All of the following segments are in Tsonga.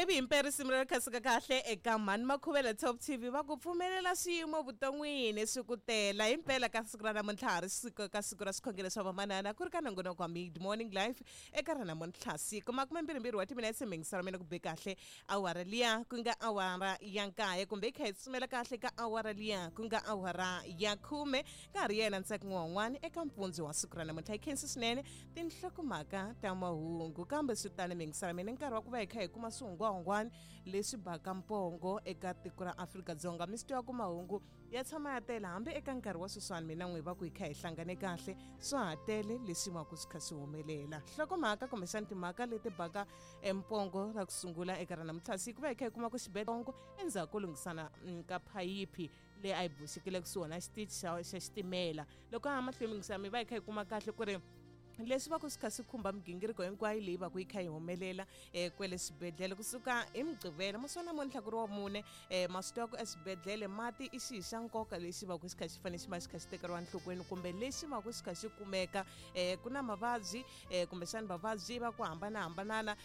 Ivi himpela risimu leri khasika kahle eka Mhani Makhuvela Top TV va ku pfumelela swiyimo vuton'wini swi ku tela. Himpela ka siku ra namuntlha ha ri siku ka siku ra swikhongelo swa vamanana ku ri ka nongonoko wa Mid Morning Life eka ra namuntlha siku makumembirhimbirhi wa timinetse mingiselo mina ku be kahle awara liya ku nga awara ya nkaye kumbe yi kha yi tsutsumela kahle ka awara liya ku nga awara ya khume ka ha ri yena Ntsako N'wahun'wani eka mpfundzu wa siku ra namuntlha. Hi khensi swinene tinhlokomhaka ta mahungu kambe swi tani mingisela mina nkarhi wa ku va hi kha hi kuma swihungwahungwani leswi baka mpongo eka tiko ra Afrika-Dzonga. Mi swi tiva ku mahungu ya tshama ya tele hambi eka nkarhi wa sweswiwani mina n'wi va ku hi kha hi hlangane kahle swa ha tele leswi va ku swi kha swi humelela. Nhlokomhaka kumbexani timhaka leti baka empongo ra ku sungula eka ra namuntlha siku va hi kha hi kuma ku xibedhlele endzhaku ko lunghisana ka phayiphi leyi a yi boxekile kusuhi na xitichi xa xitimela. Loko ha mahlweni mingisela mi va hi kha hi kuma kahle ku ri leswi va ku swi kha swi khumba migingiriko hinkwayo leyi va ku yi kha yi humelela kwele swibedhlele kusuka hi Mugqivela masiku namuntlha ku ri wa mune. Ma swi tiva ku eswibedhlele mati i xihi xa nkoka lexi va ku xi kha xi fanele xi va xi kha xi tekeriwa enhlokweni kumbe lexi va ku xi kha xi kumeka. Ku na mavabyi kumbexani vavabyi va ku hambanahambanana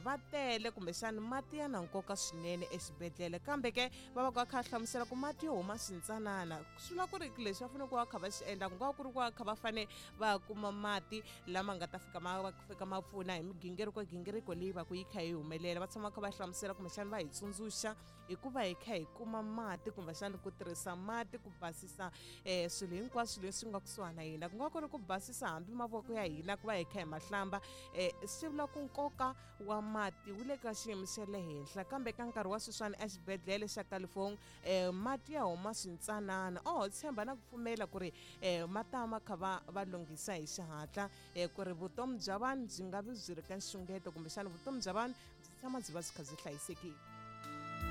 va tele kumbexani mati ya na nkoka swinene exibedhlele kambe ke va va ku va kha hlamusela ku mati yo huma swintsanana swi vula ku ri leswi va fanele ku va kha va swi endla ku nga ku ri ku va kha va fane va kuma mati lama nga ta fika ma fika ma pfuna hi migingiriko gingiriko leyi va ku yi kha yi humelela. Va tshama kha va hlamusela kumbexani va hi tsundzuxa hi ku va hi kha hi kuma mati kumbexani ku tirhisa mati ku basisa swilo hinkwaswo leswi nga kusuhana na hina ku nga ku ri ku basisa hambi mavoko ya hina ku va hi kha hi ma hlamba. Swi vula ku nkoka wa mati wu le ka xiyimo xa le henhla kambe ka nkarhi wa sweswiwani exibedhlele xa Kalafong mati ya huma swintsanana. Oho tshemba na ku pfumela ku ri ma ta ma kha va va lunghisa hi xihatla ku ri vutomi bya vanhu byi nga vi byi ri ka nxungeto kumbexana vutomi bya vanhu byi tshama byi va byi kha byi hlayisekile.